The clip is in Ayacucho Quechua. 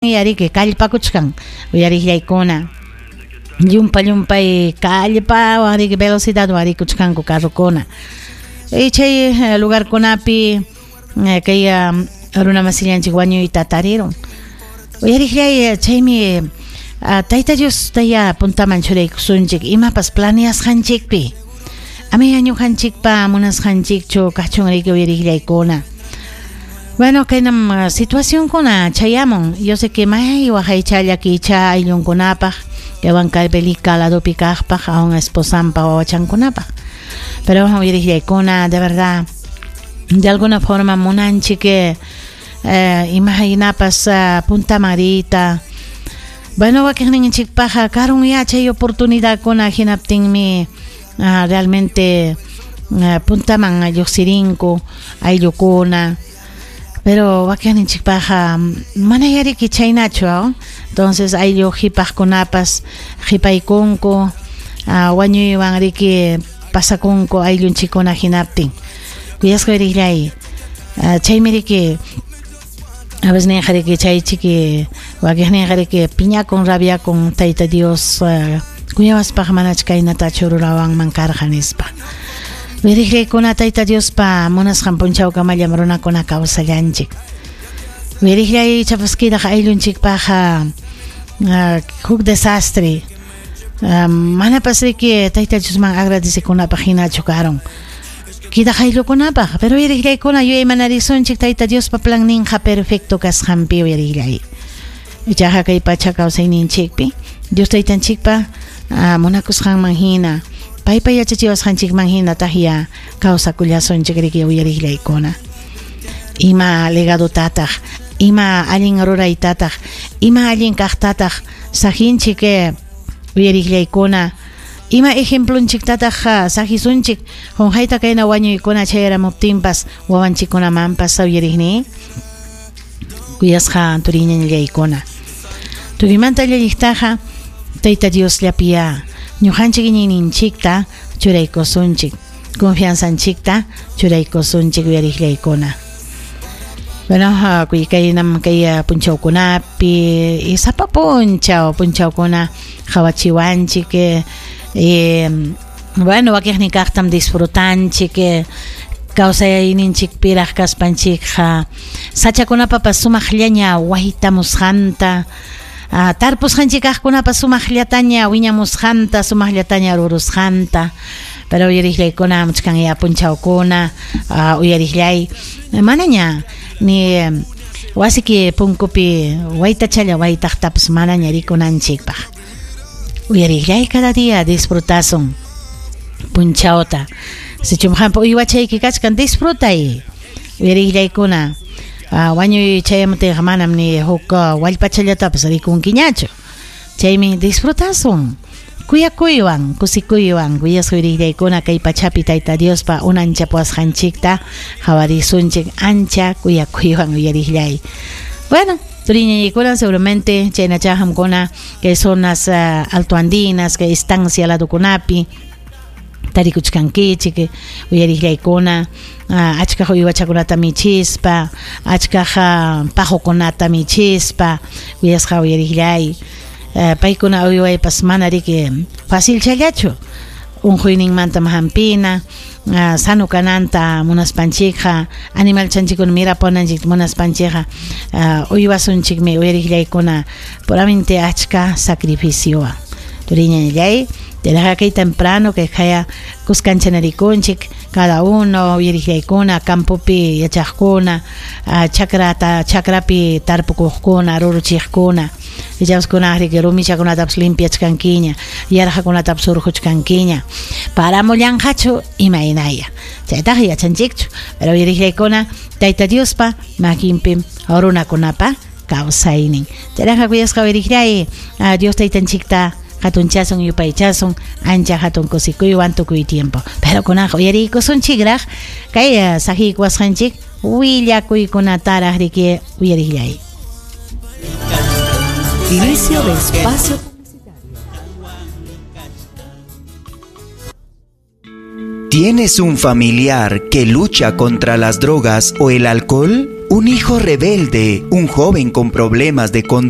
Yariki kallpakuchkan uyariqllaykuna llumpa llumpay kallpawan riki velocidadwan rikuchkanku carrokuna y chay lugarkunapi kay runa masillanchik wañuyta tarirun uyariqllay chaymi Tayta Diostayá puntaman churaykusunchik imapas planeasqanchikpi amaya ñuqanchikpa munasqanchikchu kachun riki uyariqllaykuna. Bueno, kaynam situacionkuna chayamun. Yo sé que may waqaycha llakiycha ayllunkunapaq, kay Huancavelica ladopi kaqpaq, aún esposanpa wawachankunapaq. Pero uyariqllaykuna, de verdad, de alguna forma munanchik imahinapas puntaman riyta. Bueno, wakiqninchikpaqqa karun yachay oportunidadkuna hinaptinmi realmente puntaman lluqsirinku ayllukuna. Pero wakiqninchikpaqqa mana yariki chaynachu, entonces ayllu qhipaqkunapas qhipaykunku, wañuywan riki pasakunku ayllunchikkuna hinaptin. Kuyasqa uyariqllay, chaymi riki a veces ninqa riki chay chiki wakiqninqa riki piñakun rabiakun Tayta Dios kuyawaspaq manach kaynatachu rurawanman karqa nispa. Uyariqllaykuna Tayta Diospa munasqan punchawkamallam runakuna kawsallanchik. Uyariqllay ichapas quedaq ayllunchikpaqqa huk desastre. Manapas riki Tayta Diosman agradecekunapaq hinachu karun. Quedaq ayllukunapaq, pero uyariqllaykuna yuyaymanarisunchik Tayta Diospa planninqa perfecto kasqanpi uyariqllay. Ichaqa kay pacha kawsayninchikpi Dios Taytanchikpa munakusqanman hina, paypa yachachiwasqanchikman hina tahya kawsakullasunchik riki uyariqllaykuna. Ima legadotataq, ima allin ruraytataq, ima allin kaqtataq saqinchik uyariqllaykuna, ima ejemplonchiktataq saqisunchik qunqayta kayna wañuykuna chayaramuptinpas wawanchikkunamanpas uyariqni kuyasqa turiñañallaykuna. Tukuymanta llalliqtaqa Tayta Diosllapiya ñuqanchik iñiyninchikta churaykusunchik, confianzanchikta churaykusunchik uyariqllaykuna. Bueno, kaynam kay punchawkunapi y sapa punchaw punchawkuna qawachiwanchik bueno, wakiqnin kaqtam disfrutanchik kawsayninchikpiraq kaspanchikqa sachakunapapas sumaqllaña waytamusqanta, tarpusqanchik kaqkunapas sumaqllataña wiñamusqanta, sumaqllataña rurusqanta. Pero uyariqllaykuna muchkan ya punchawkuna uyariqllay manaña ni wasiki punkupi waytachalla waytaqtapas manaña rikunanchikpaq. Uyariqllay cada día disfrutasun punchawta. Sichum qampa uywachayki kachkan disfrutay. Uyariqllaykuna wañuy chayamuptinqa manam ni huk wallpachallatapas rikunkiñachu. Chaymi disfrutasun. Kuyakuywan, kusikuywan, kuyasqa uyariqllaykuna kay pachapi Tayta Diospa unanchapuwasqanchikta qhawarisunchik ancha kuyakuywan uyariqllay. Bueno, turiñañaykuna seguramente chaynacha qamkuna kay zonas altoandinas, kay estancia ladokunapi tarikuchkankichik uyariqllaykuna achkaq uywachakunata michispa, achkaq paqukunata michispa kuyasqa uyariqllay. Paykuna uywaypas mana riki facilchallachu unquyninmantam hampina, sano kananta munaspanchikqa, animalchanchikkuna mirapunanchikta munaspanchikqa uywasunchikmi uyariqllaykuna puramente achka sacrificiowan. Turiñañallay, tiraqa kay temprano kay qaya kuskanchanarikunchik cada uno uyariqllaykuna campopi yachaqkuna, chakrata chakrapi tarpukuqkuna, ruruchiqkuna, ichapas riki rumichakunatapas limpiachkankiña, yarqakunatapas urquchkankiña, paramullanqachu imaynaya. Chaytaqa yachanchikchu, pero uyariqllaykuna Tayta Diospa makinpim runakunapa kawsaynin. Chayraqa kuyasqa uyariqllay, Dios Taytanchikta hatunchasun yupaychasun ancha hatun kusikuywan tukuy tiempo. Pero kunaqa uyariykusunchikraq kay saqiykuwasqanchik willakuykunataraq riki uyariqllay. Inicio de espacio publicitario. ¿Tienes un familiar que lucha contra las drogas o el alcohol? Un hijo rebelde, un joven con problemas de conducta.